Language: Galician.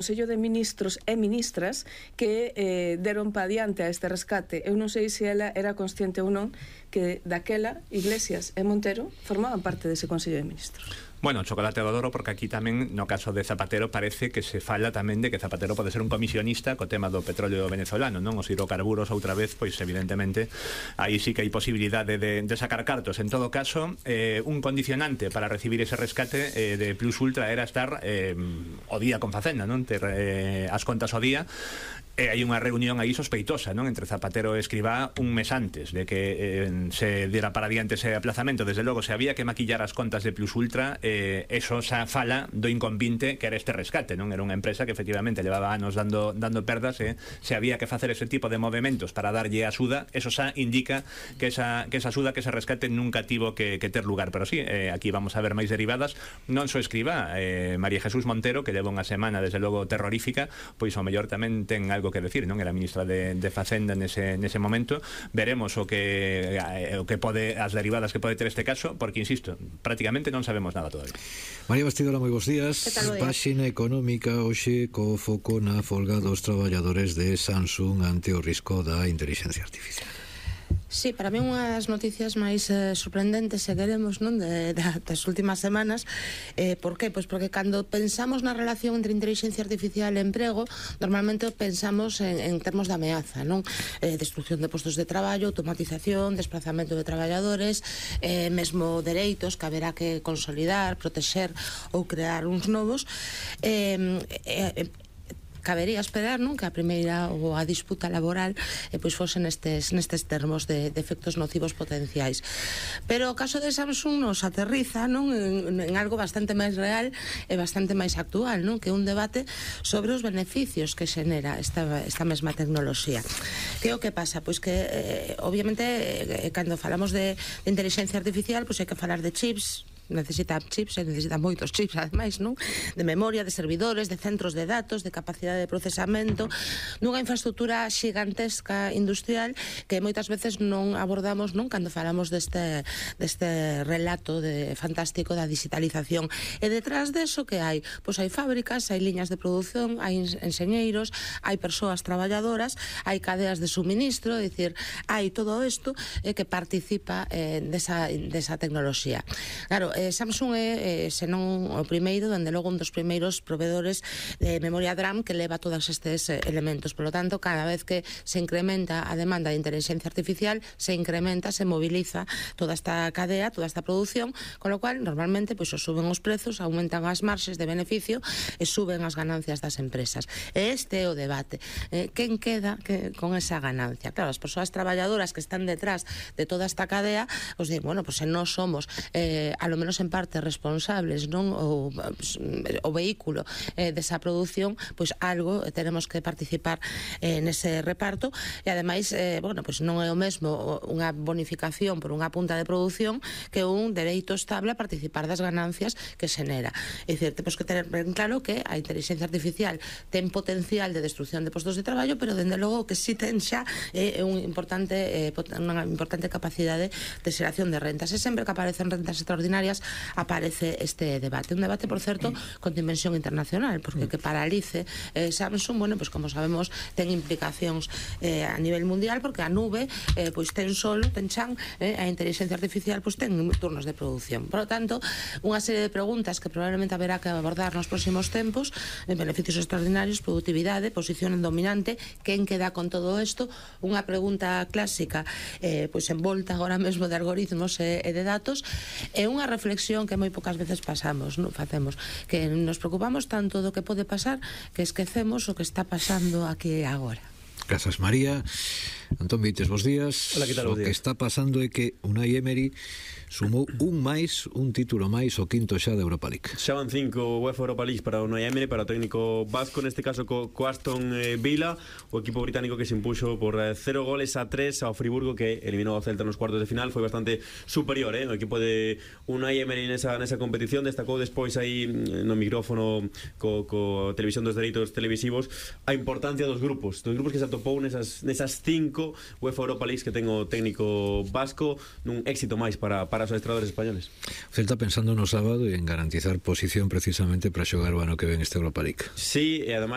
Consello de Ministros e Ministras que deron pa adiante a este rescate. Eu non sei se ela era consciente ou non que daquela Iglesias e Montero formaban parte dese Consello de Ministros. Bueno, chocolate do Doro, porque aquí tamén, no caso de Zapatero, parece que se fala tamén de que Zapatero pode ser un comisionista co tema do petróleo venezolano, non? Os hidrocarburos outra vez, pois evidentemente aí sí que hai posibilidade de sacar cartos. En todo caso, un condicionante para recibir ese rescate de Plus Ultra era estar o día con Facenda, non? Ter as contas o día. Hai unha reunión aí sospeitosa, non? Entre Zapatero e Escrivá un mes antes de que se diera para diante ese aplazamento. Desde logo, se había que maquillar as contas de Plus Ultra, eso xa fala do inconvinte que era este rescate, non? Era unha empresa que efectivamente levaba anos dando perdas, se había que facer ese tipo de movimentos para darlle axuda, eso xa indica que esa axuda, que ese rescate nunca tivo que ter lugar. Pero sí, aquí vamos a ver máis derivadas, non só Escrivá, María Jesús Montero, que leva unha semana desde logo terrorífica, pois ao mellor tamén ten algo que decir, non? Era ministra de Facenda nese momento. Veremos o que pode, as derivadas que pode ter este caso, porque insisto, prácticamente non sabemos nada todavía. María Bastidora, moi bons días. Páxina económica hoxe co foco na folga dos traballadores de Samsung ante o risco da intelixencia artificial. Sí, para mí unhas noticias máis sorprendentes, se queremos, non, das últimas semanas. Por qué? Pois porque cando pensamos na relación entre inteligencia artificial e emprego, normalmente pensamos en termos de ameaza, non? Destrucción de postos de traballo, automatización, desplazamento de traballadores, mesmo dereitos que haberá que consolidar, protexer ou crear uns novos. Cabería esperar, non, que a primeira ou a disputa laboral pois fose nestes termos de efectos nocivos potenciais. Pero o caso de Samsung nos aterriza, non, en algo bastante máis real e bastante máis actual, non, que é un debate sobre os beneficios que xenera esta mesma tecnoloxía. Que é o que pasa? Pois que obviamente cando falamos de inteligencia artificial, pois hai que falar de chips, necesita moitos chips, ademais, non? De memoria, de servidores, de centros de datos, de capacidade de procesamento, nunha infraestructura xigantesca industrial que moitas veces non abordamos, non, cando falamos deste relato fantástico da digitalización. E detrás deso que hai? Pois hai fábricas, hai liñas de produción, hai enxeñeiros, hai persoas traballadoras, hai cadeas de suministro, é dicir, hai todo isto que participa desa tecnoloxía. Claro, Samsung é, senón o primeiro, dende logo un dos primeiros proveedores de memoria DRAM que leva todos estes elementos. Por lo tanto, cada vez que se incrementa a demanda de inteligencia artificial, se incrementa, se moviliza toda esta cadea, toda esta produción, con lo cual, normalmente, pois, suben os prezos, aumentan as marxes de beneficio e suben as ganancias das empresas. E este é o debate. Quen queda con esa ganancia? Claro, as persoas traballadoras que están detrás de toda esta cadea, os di, bueno, pois se nós somos a lo menos en parte responsables, non, o vehículo desa produción, pois algo teremos que participar nese reparto. E ademais, bueno, pois non é o mesmo unha bonificación por unha punta de produción que un dereito estable a participar das ganancias que xenera. É dicir, temos que ter ben claro que a inteligencia artificial ten potencial de destrucción de postos de traballo, pero dende logo que si ten xa unha importante capacidade de xeración de rentas. E sempre que aparecen rentas extraordinarias aparece este debate. Un debate, por certo, con dimensión internacional, porque que paralice Samsung, bueno, pues como sabemos, ten implicacións a nivel mundial, porque a nube pois ten sol, ten chan, a inteligencia artificial pois ten turnos de produción. Por lo tanto, unha serie de preguntas que probablemente haberá que abordar nos próximos tempos, beneficios extraordinarios, productividade, posición dominante, quen queda con todo isto, unha pregunta clásica pois envolta agora mesmo de algoritmos e de datos, e unha reflexión que moi poucas veces pasamos, non facemos, que nos preocupamos tanto do que pode pasar que esquecemos o que está pasando aquí agora. Grazas, María. Antón Vites, bons días. Hola, que tal? O que está pasando é que Unai Emery sumou un título máis, o quinto xa de Europa League. Xa van 5 UEFA Europa League para Unai Emery, para o técnico vasco, neste caso co Aston Villa, o equipo británico que se impuxo por 0-3 ao Friburgo, que eliminou ao Celta nos cuartos de final. Foi bastante superior, o equipo de Unai Emery nesa competición. Destacou despois aí no micrófono co televisión dos dereitos televisivos a importancia dos grupos que se atopou nesas 5 UEFA Europa League que ten o técnico vasco, nun éxito máis para os adestradores españoles. O Celta pensando no sábado e en garantizar posición precisamente para xogar o ano que ven este Europa League. Sí, e ademais